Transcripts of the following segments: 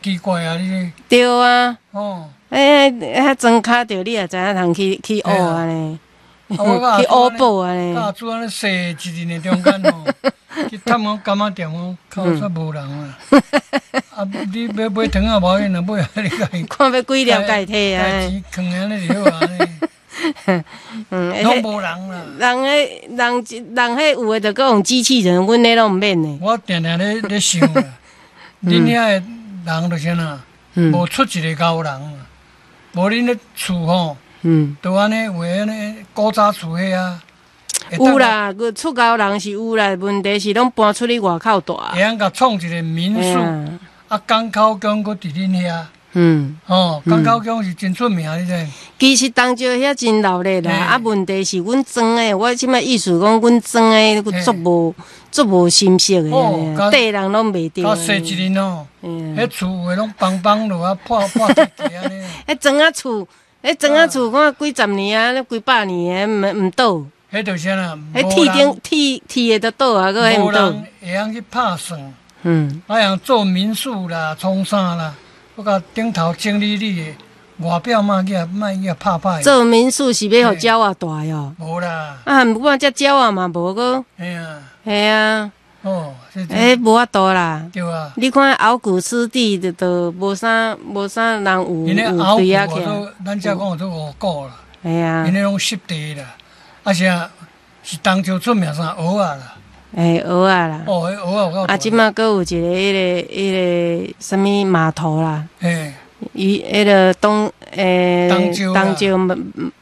奇怪啊！你對啊。哦。欸，遐莊跤著你也知影通去去學按呢，去學寶按呢。佮阿祖按呢踅一日的中間吼，去探講柑仔店講，靠煞無人啊！啊，你欲買糖仔無要緊啦，買啊你家己。看欲幾粒家己提啊。錢囥按呢就好啊。攏無人啦。人彼人人彼有的就閣用機器人，阮彼攏毋免的。我定定咧想啦，恁遐的人就是按怎，無出一个𠢕人，無恁咧厝吼，就按呢有的按呢古早厝彼啊。有啦，出𠢕人是有啦，問題是攏搬出去外口蹛。會曉共創一個民宿，啊，港口宮閣佇恁遐。哦，港口宮是真出名，你知？其實東石遐真鬧熱啦，啊，問題是阮莊的，我這擺意思講，阮莊的足無足無心色的，綴人攏袂著。較細一陣哦，彼厝有的攏崩崩落啊，破破地地按呢。彼莊仔厝，彼莊仔厝看幾十年啊，幾百年的，毋毋倒。彼就是按怎，彼鐵頂鐵鐵的都倒啊，閣彼毋倒。無人會曉去拍算，啊，會曉做民宿啦，創啥啦。閣共頂頭整理你的外表嘛，去莫去拍拍。做民宿是欲予鳥仔蹛哦。無啦。啊，毋過這鳥仔嘛無閣。嘿啊。嘿啊。哦。欸，無法度啦。對啊。你看鰲鼓濕地就都無啥無啥人有有對啊起。咱遮講做五股啦。嘿啊。𪜶彼攏濕地啦，啊是啊，是東石出名啥蚵仔啦。欸，蚵仔啦。哦，彼蚵仔有夠。啊，這馬閣有一个彼个彼个啥物碼頭啦。嘿。漁彼个東欸，東石東石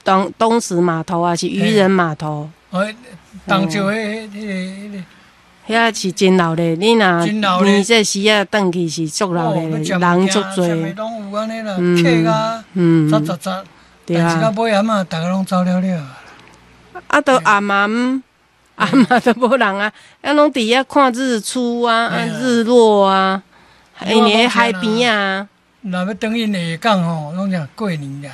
東東石碼頭啊，是漁人碼頭。哦，東石彼彼个彼个。遐是真鬧熱，你若年這時仔轉去是足鬧熱，人足濟。啥物攏有按呢啦，客啊，雜雜雜，但是到尾仔嘛，逐个攏走了了。啊，都暗暗。啊嘛都無人啊，啊攏佇遐看日出啊，啊日落啊，因為海邊啊。若欲轉去下港吼，攏啥過年啦。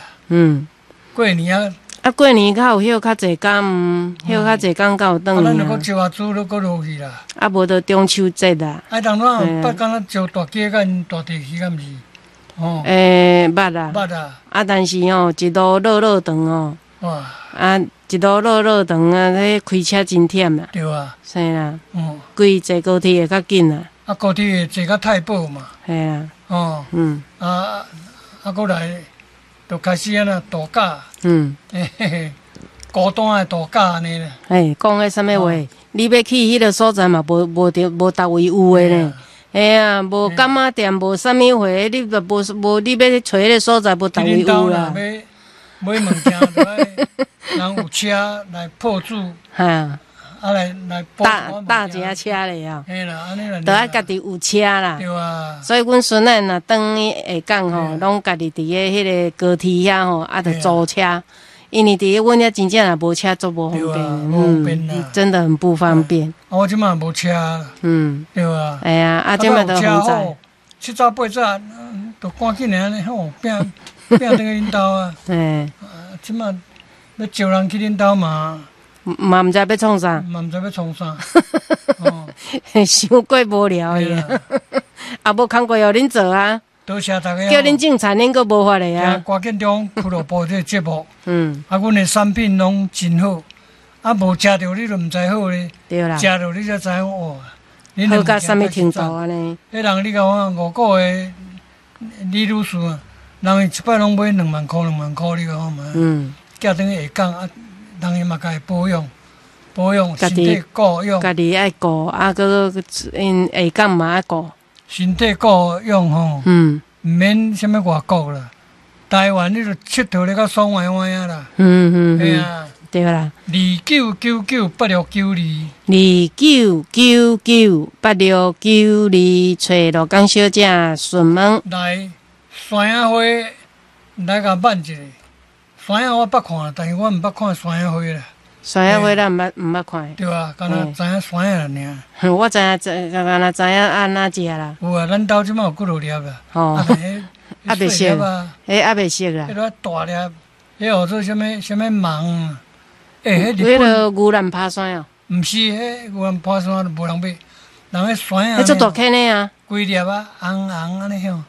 過年啊。啊，過年較有歇較濟工，歇較濟工較有轉。啊，咱就閣招阿祖，閣落去啦。啊，無就中秋節啦。啊，當陣捌敢若招大街佮𪜶大地去，敢毋是？哦。欸，捌啊。捌啊。啊，但是吼，一路落落長吼。哇。啊，一路落落長啊，彼開車真忝啦。對啊。是啦。規坐高鐵會較緊啦。啊，高鐵會坐到太保嘛。嘿啊。哦。啊啊，閣來，就開始按怎度假。嘿嘿，孤單的度假按呢啦。嘿，講彼啥物話？你欲去彼个所在嘛，無無著無佗位有的呢。嘿啊，無柑仔店，無啥物貨，你就無無你欲去揣彼个所在，無佗位有啦。買買物件就愛人有車來抱住，哈，啊來來搭搭一下車咧哦，嘿啦，按呢啦，著愛家己有車啦。對啊。所以阮孫仔若轉去下港吼，攏家己佇个彼个高鐵遐吼，啊，著租車。因為佇阮遐真正若無車，足無方便，嗯，真的很不方便。啊，我這馬無車。對啊。哎呀，啊，這馬都好在。七早八早，就趕緊按呢吼，拼拼轉去恁兜啊。嘿。啊，這馬欲招人去恁兜嘛？嘛毋知欲創啥。嘛毋知欲創啥。傷過無聊的。啊，無工課予恁做啊。多謝大家。叫恁種田，恁閣無法的啊。趕緊中俱樂部這个節目。啊，阮的產品攏真好，啊，無食著你就毋知好咧。對啦。食著你才知影哦。好到啥物程度按呢？彼人你共我五股的李女士啊，人伊一擺攏買2萬箍2萬箍，你共我嘛？寄轉去下港啊，人伊嘛共伊保養，保養身體顧養。家己愛顧，啊，閣𪜶下港嘛愛顧。身體顧養吼，毋免啥物外國啦，台灣你就𨑨迌咧較爽歪歪啊啦。嘿啊。對啦。29998692。29998692，揣羅江小姐詢問。來，山仔花來共問一下，山仔我捌看，但是我毋捌看山仔花啦。山仔花咱毋捌毋捌看。對啊，敢若知影山仔爾。我知影，知敢若知影按怎食啦。有啊，咱兜這馬有幾落粒啦。吼。啊袂熟，彼猶未熟啦。彼个大粒，彼號做啥物啥物芒？欸，彼日本。彼个牛腩拍山哦。毋是，彼牛腩拍山無人買，人彼山仔。彼足大顆呢啊！規粒啊，紅紅按呢向。